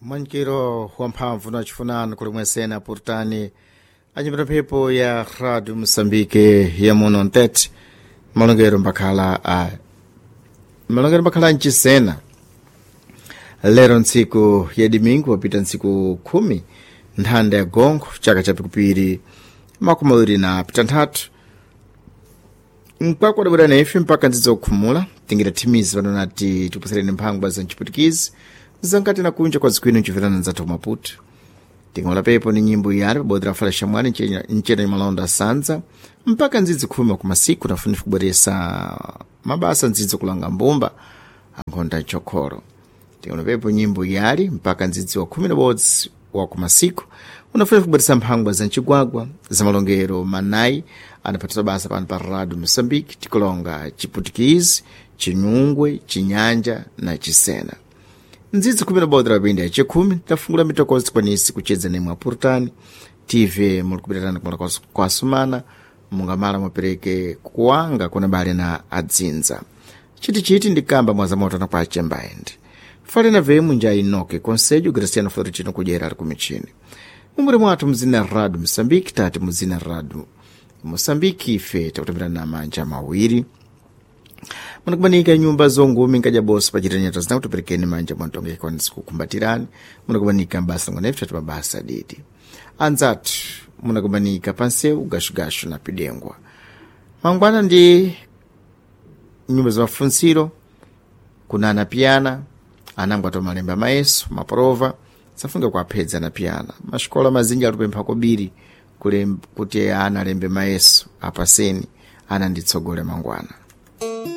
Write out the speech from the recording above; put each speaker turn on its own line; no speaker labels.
Mwankiro wamphamvu na chifunano kuli mwesena purtani anyipita mphepo ya Radio Mosambike ya muno ntete malongero mbakhala a malongero mbakhala mchisena lero ntsiku ya domingo wapita ntsiku 10 nthanda ya gongo chaka cha pikupiri 2023 mkwakwadabwera naife mpaka nzidzo kukhumula tingira thimizi pano nati tipusereni mphangwa za mchiputikizi zankati na kunja kwa zikwino nchiverana nzathu maputo tingola pepo ni nyimbo yali pabodzi la fala shamwani ncena malonda sanza mpaka ndzidzi khumi kumasiku nafunifu kubweresa mabasa ndzidzi kulanga mbumba ankhonda chokholo. Tingola pepo nyimbo yali mpaka ndzidzi wa 11 wa kumasiku unafunifu kubweresa mphangwa za mchigwagwa za malongero manayi anaphatisa basa pano pa Radio Mosambike tikulonga chiputikizi, chinyungwe, chinyanja na chisena. Ndzidzi 11 lapinda yachikhumi tafungula mitokozi tikwanisi kuchedza nemwe apurutani tv muli kupitirana kumala kwasumana mungamala mupereke kuwanga kuna bale na adzinza chitichiti ndikamba mwazamotana kwa achembaendi falena vemu nja inoke conselho Graciano Florentino kudyera ali kumichini mumuli mwathu mzina Radio Mosambike tati muzina Radio Mosambike ife takutamira na manja mawiri munakubanika nyumba zongumi nkadya bosa pachitanyata zina kutoperekeni manja mwantonge kwanisi kukumbatirani munakubanika mbasa ngonefe tati mabasa didi anzathu munakubanika pansewu gashugashu na pidengwa mangwana ndi nyumba za mafunsiro kuna anapiyana anango atomalemba mayeso maprova safunga kuaphedza anapiyana maxikola mazinji alipempha kobiri kuti ana alembe mayeso apaseni ana nditsogole mangwana.